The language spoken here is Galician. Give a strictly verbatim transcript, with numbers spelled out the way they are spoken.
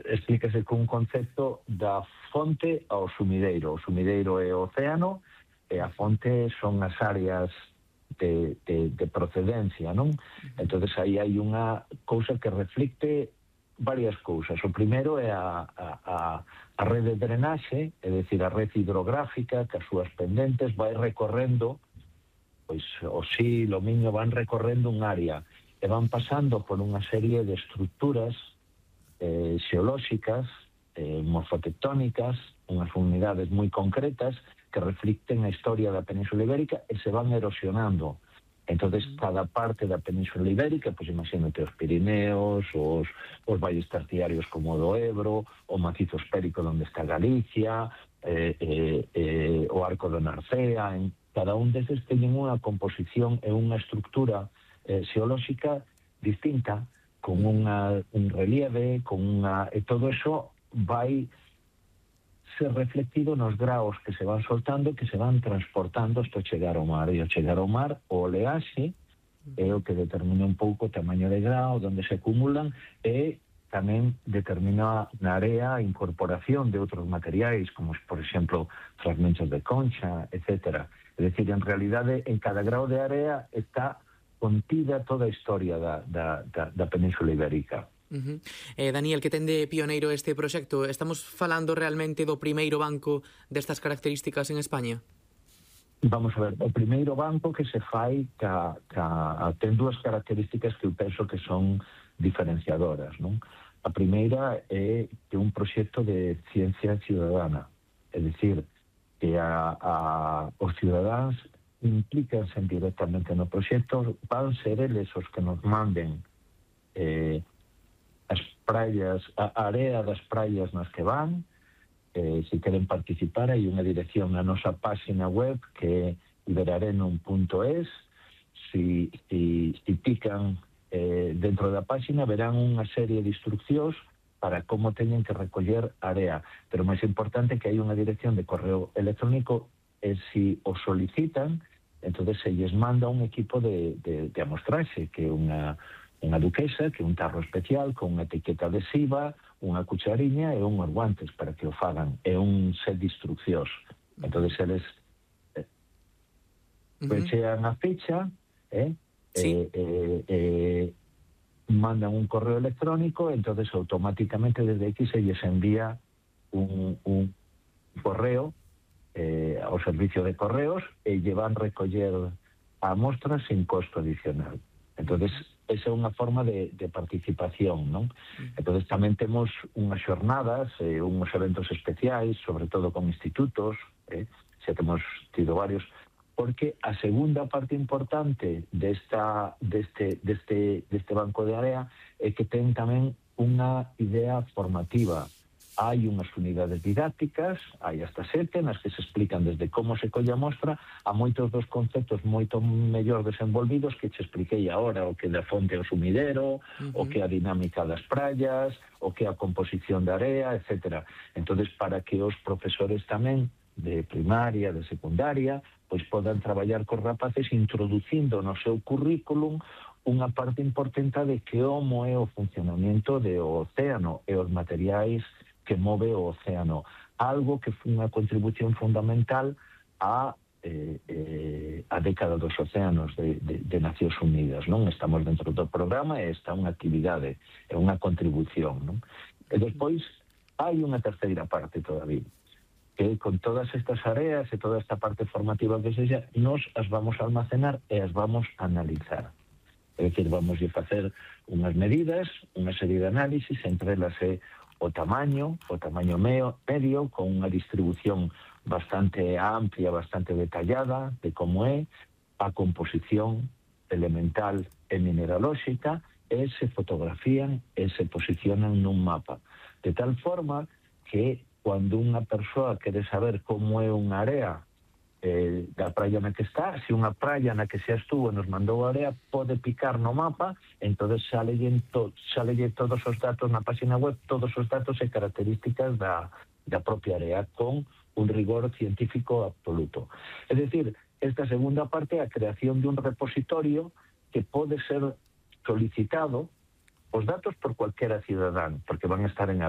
explícase con un concepto da fonte ao sumideiro. O sumideiro é o océano e a fonte son as áreas de, de, de procedencia, non? Entonces aí hai unha cousa que reflicte varias cousas. O primeiro é a, a, a, a rede de drenaxe, é dicir, a rede hidrográfica, que as súas pendentes vai recorrendo, pois o Sil, o Miño van recorrendo un área e van pasando por unha serie de estructuras eh, xeolóxicas, eh, morfotectónicas, unhas unidades moi concretas que reflicten a historia da Península Ibérica e se van erosionando. Entonces, cada parte da Península Ibérica, pois imagínate os Pirineos, os, os valles terciarios como o do Ebro, o macizo espérico onde está Galicia, eh, eh, eh, o arco de Narcea, en cada un deses teñen unha composición e unha estructura eh, xeolóxica distinta, con unha, un relieve, con unha... E todo eso vai ser reflectido nos graos que se van soltando, que se van transportando hasta chegar ao mar. E ao chegar ao mar, o oleaxe é o que determina un pouco o tamaño de grao, onde se acumulan, e tamén determina na area a incorporación de outros materiais, como, por exemplo, fragmentos de concha, etcétera. É dicir, en realidade, en cada grao de area está contida toda a historia da, da, da, da Península Ibérica. Uh-huh. eh, Daniel, que ten de pioneiro este proxecto? Estamos falando realmente do primeiro banco destas características en España? Vamos a ver, o primeiro banco que se fai ca, ca, ten dúas características que eu penso que son diferenciadoras, non? A primeira é que un proxecto de ciencia ciudadana, é dicir, que a, a, os cidadáns implícanse directamente no proxecto, van ser eles os que nos manden eh, as praias, a area das praias nas que van. Eh, se queren participar, hai unha dirección na nosa página web que é iberarenum punto es. Si, si, si pican eh, dentro da página verán unha serie de instruccións para como teñen que recoller area, pero máis importante que hai unha dirección de correo electrónico e si o solicitan, entonces se lles manda un equipo de, de, de amostraxe, que é unha, unha duquesa, que é un tarro especial con unha etiqueta adhesiva, unha cuchariña e unhos guantes para que o fagan. É un set de instruccións. Entonces eles eh, pechean a ficha, eh, sí. eh, eh, eh, mandan un correo electrónico, entonces automáticamente desde aquí se lles envía un, un correo eh, ao servicio de correos e lle van recoller a mostra sin costo adicional. Entonces, esa é unha forma de, de participación, non? Entonces, tamén temos unhas xornadas, eh, unhos eventos especiais, sobre todo con institutos, eh, xa temos tido varios, porque a segunda parte importante desta, deste, deste, deste banco de area é que ten tamén unha idea formativa. Hai unhas unidades didácticas, hai hasta sete, nas que se explican desde como se colle a mostra a moitos dos conceptos moito mellor desenvolvidos que che expliquei agora, o que é da fonte ao sumidero, uh-huh. o que é a dinámica das praias, o que é a composición da area, etcétera. Entonces, para que os profesores tamén de primaria, de secundaria, pois podan traballar cos rapaces introducindo no seu currículum unha parte importante de que como é o funcionamento do océano e os materiais que move o océano, algo que foi unha contribución fundamental a, eh, eh, a década dos océanos de, de, de Nacións Unidas, non? Estamos dentro do programa e esta é unha actividade, é unha contribución, non? E despois hai unha terceira parte todavía, que con todas estas áreas e toda esta parte formativa que sexa, nos as vamos a almacenar e as vamos a analizar. É dicir, vamos a facer unhas medidas, unha serie de análisis, entre elas é o tamaño, o tamaño medio, medio, con unha distribución bastante amplia, bastante detallada de como é a composición elemental e mineralóxica, e se fotografían e se posicionan nun mapa. De tal forma que cando unha persoa quere saber como é unha área eh, da praia na que está, se unha praia na que xa estuvo nos mandou a área, pode picar no mapa, entonces salelle to, todos os datos na página web, todos os datos e características da, da propia área, con un rigor científico absoluto. É dicir, esta segunda parte é a creación de un repositorio que pode ser solicitado os datos por cualquiera cidadán, porque van a estar en